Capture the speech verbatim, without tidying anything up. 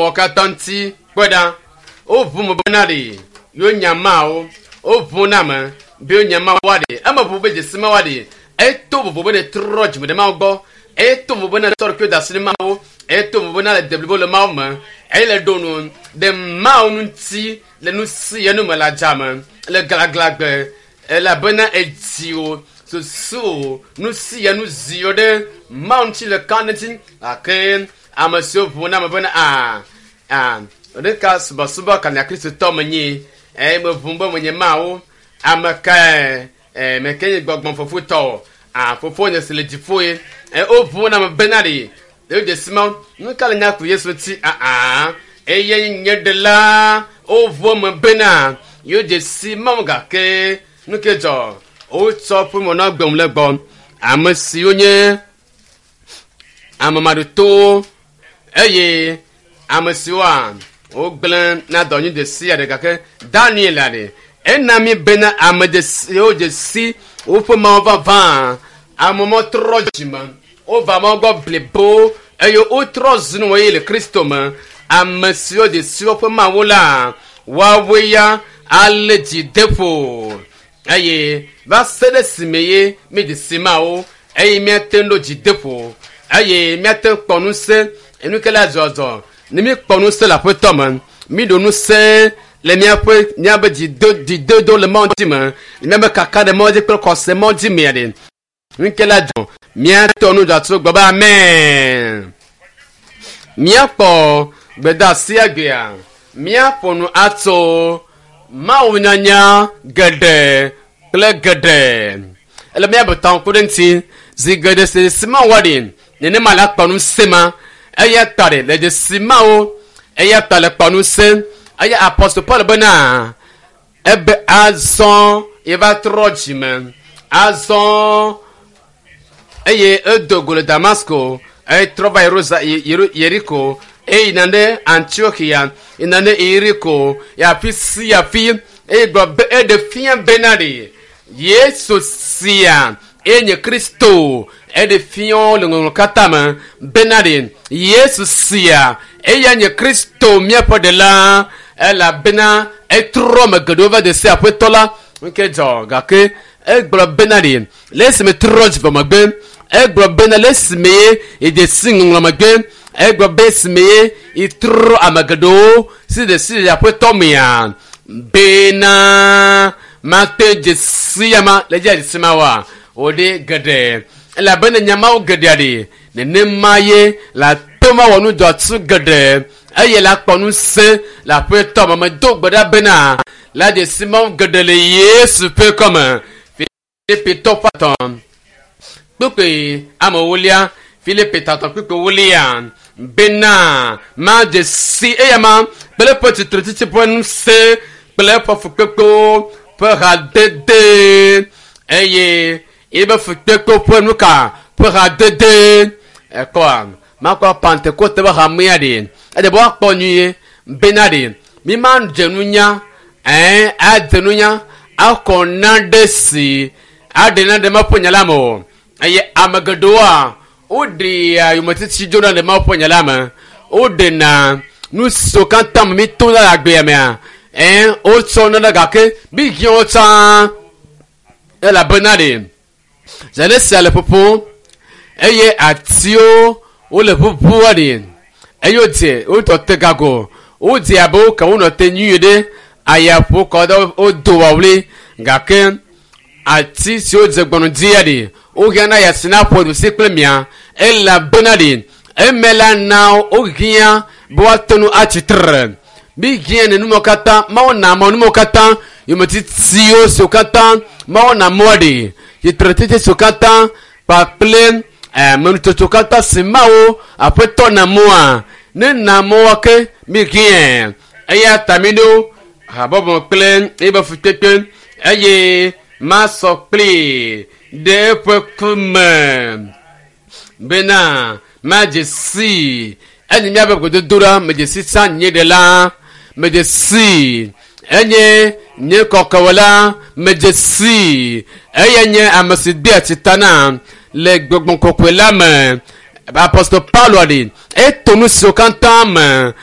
Wɔ katã ŋuti kpɔe ɖa. Woʋu me bena ɖe yewo nya Mawu. Woʋu na ame be wonya Mawu ɖe. Eme ʋu be dzesi Mawu ɖe. Eto vovo be netrɔ dzime ɖe Mawu gbɔ. Eto vovo be netsɔ ɖokuiwò da asi ɖe Mawu. Eto vovo be nale deblibo le Mawu me. Eye le ɖo nu ɖe Mawu ŋuti le nu si ye nu me le adzame le glaglagbe elabena edzi wò susu wò nu si ye nu zi wò ɖe Mawu ŋuti le ka ŋuti gake ame siwo ʋu na ame bena a a ɖeka subɔsubɔ kanya kristotɔ menye eye meʋu be menye Mawu ame kae e meke nye gbɔgbɔ fofotɔ a fofonye si le dziƒo ye e woʋu na ame bena ɖe ɖewo dzesi ma nu ka le nya ku Yesu ŋuti aa eye nye ɖela woʋu eme bena yewo dzesi Mawu gake nu ke dzɔ wotsɔ ƒe mɔ gbem le gbɔ ame siwo nye ame maɖotowo eye ame siwoa wogblẽ na dɔ nyui ɖe sia ɖe gake Daniel ɖe ena mi bena ame dzesiwo dzesi woƒe Mawu vavã ame ma trɔ dzime wova Mawu gbɔ blibo eye wotrɔ zu nu eye le Kristo me ame siwo dzesi woƒe Mawu la woawoe ya ale dzi de ƒo eye va se ɖe esime ye mi dzesi Mawu eye míate ŋu ɖo dzi de ƒo eye míate ŋu kpɔ ŋusẽ enu ke la zɔzɔ ne mi kpɔ ŋusẽ le aƒetɔ me mi ɖo ŋusẽ le míaƒe míaƒe dzido dzidodo le Mawu dzi me míaƒe kaka ɖe Mawu dzi kple xɔse Mawu dzi mea ɖe nu ke la dzɔ míatɔ nu dzɔatso gbɔ be amen míakpɔ gbedeasi agbea míaƒo nu atso Mawu nyanya geɖe kple geɖe ele míabe tɔn ku ɖe ŋuti zi geɖe si si Mawu wɔ ɖi nenema la kpɔ ŋusẽ ma eya ta ɖe le dzesi Mawu eya ta le kpɔ ŋusẽ eye apostol Paul bena ebe azɔ yeva trɔ dzime azɔ eye edo go le Damasko eye trɔ va Yerusa Yeriko eye yina ɖe Antiochia yina ɖe Yeriko afi sia afi eye gblɔ be eɖe fia bena ɖe Yesu sia eye nye Kristo eɖe fia le ŋɔŋlɔ katã me bena ɖe Yesu sia eya nye Kristo míaƒe ɖela elabena etrɔ ame geɖewo va de se aƒetɔ la nke dzɔ gake egblɔ bena ɖe le esime trɔ dzi vɔ megbe egblɔ bena le esime ye yede si ŋɔŋlɔ megbe egblɔ be esime ye yetrɔ ame geɖewo si de si aƒetɔ mea bena mate dzesi ya ma le dzi dzesi ma wa wòɖe geɖe elabena nyamawo geɖea ɖe nenema ye la to ma wɔ nu dzɔtsu geɖe eye la kpɔ ŋusẽ le aƒetɔ me medo gbe ɖa bena la dzesi mawo geɖe le Yesu ƒe kɔme Filipitɔ ƒe atɔ̃ kpukpui ame ewolia Filipi tatɔ kpukpui ewolia bena madze si eya ma kple eƒe tsitretsitsi ƒe ŋusẽ kple eƒe fukpekpewo ƒe hadede eye ebe fukpekpewo ƒe nu ka ƒe hadede ekɔa makɔ Pentekoste ƒe hamea ɖe eɖe be woakpɔ nyuie bena ɖe mi ma dze nunya ɛɛ adze nunya akɔ na ɖe si aɖe na ɖe Mawu ƒe nya la me o eye ame geɖewoa woɖea yometiti dzona le Mawu ƒe nya la me woɖena nu siwo katã me mi to na le agbea mea ɛɛ wotsɔ nana gake mi hiã wo tsã elabena ɖe zale sia le ƒoƒom eye atiwo wole ʋuʋua ɖe eye wodze wotɔ te gago wodze abe woke wonɔ te nyuie ɖe ayaƒo kɔ ɖe wodo wɔwli gake ati siwo dze gbɔnu dzia ɖe wohiã na ya si na ƒo ɖusi kple mia elabena ɖe eme la na wohiã be woate nu atsi tre mi hiã ne numɔ katã Mawu na mɔ numɔ katã yometitiwo siwo katã Mawu na mɔ ɖe tsitretsitsi siwo katã kpakple amenutsotso katã si Mawu aƒetɔ na mɔa ne na mɔa ke mi hiã eya ta mi ɖo habɔbɔ kple ebe fukpekpe eye masɔ kpli ɖe eƒe ku me bena madze si enye míaƒe gododoɖa medze si tsã nye ɖela medze si enye nye kɔkɔwɔla medze si eye nye ame si dea tsita na le gbɔgbɔ kɔkɔe la me apostol Paulo ɖe eto nu siwo katã me.